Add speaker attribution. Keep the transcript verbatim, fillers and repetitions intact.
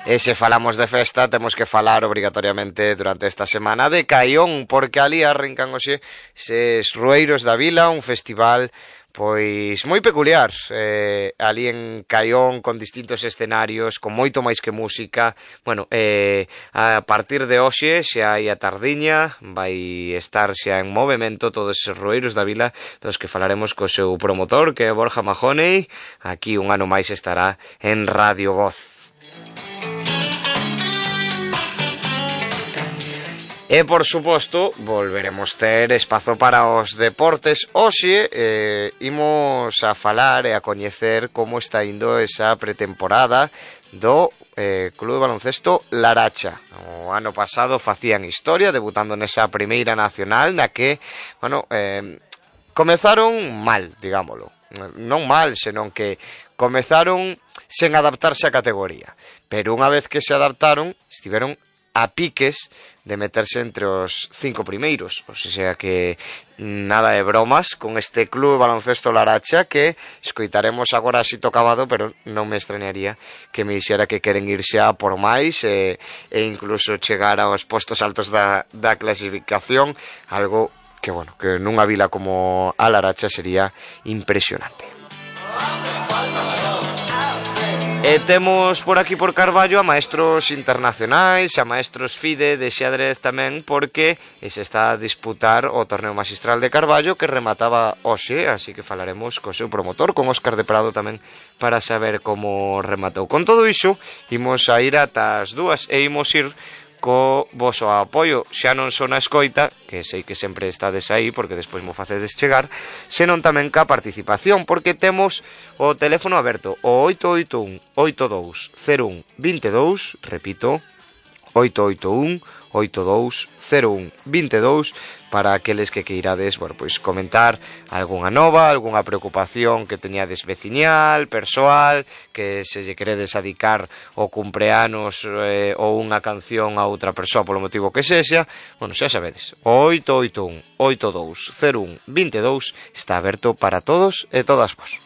Speaker 1: E se falamos de festa, temos que falar obrigatoriamente durante esta semana de Caión, porque ali arrincan hoxe ses Rueiros da Vila, un festival pois moi peculiar, eh, ali en Caión, con distintos escenarios, con moito máis que música. Bueno, eh, a partir de hoxe xa hai a tardiña, vai estar xa en movimento todos os Rueiros da Vila, dos que falaremos co seu promotor, que é Borja Mahoney. Aquí un ano máis estará en Radio Voz. E, por suposto, volveremos ter espazo para os deportes. Hoxe eh, imos a falar e a coñecer como está indo esa pretemporada do eh, Club de Baloncesto Laracha. O ano pasado facían historia, debutando nesa primeira nacional, na que, bueno, eh, comezaron mal, digámoslo. Non mal, senón que comezaron sen adaptarse á categoría. Pero unha vez que se adaptaron, estiveron a piques de meterse entre os cinco primeiros. O sea que nada de bromas con este Club de Baloncesto Laracha, que escoitaremos agora así tocabado, pero non me extrañaría que me dixera que queren irse a por máis e, e incluso chegar aos postos altos da, da clasificación, algo que, bueno, que nunha vila como a Laracha sería impresionante. E temos por aquí por Carballo a maestros internacionais, a maestros FIDE de xadrez tamén, porque se está a disputar o torneo maxistral de Carballo, que remataba hoxe, así que falaremos co seu promotor, con Óscar de Prado tamén, para saber como rematou. Con todo iso, imos a ir ata as dúas e imos ir co voso apoio, xa non son a escoita, que sei que sempre estades aí porque despois mo facedes chegar, senón tamén ca participación, porque temos o teléfono aberto, o oito oito un, oito dous, cero un, vinte e dous, repito, oito oito un, oito dous, cero un, vinte e dous, para aqueles que queirades, bueno, pois comentar algunha nova, algunha preocupación que teñades veciñal, persoal, que se lle queredes adicar o cumpleanos eh, ou unha canción a outra persoa polo motivo que sexa. Bueno, xa sabedes, o oito oito un, oito dous, cero un, vinte e dous está aberto para todos e todas vos.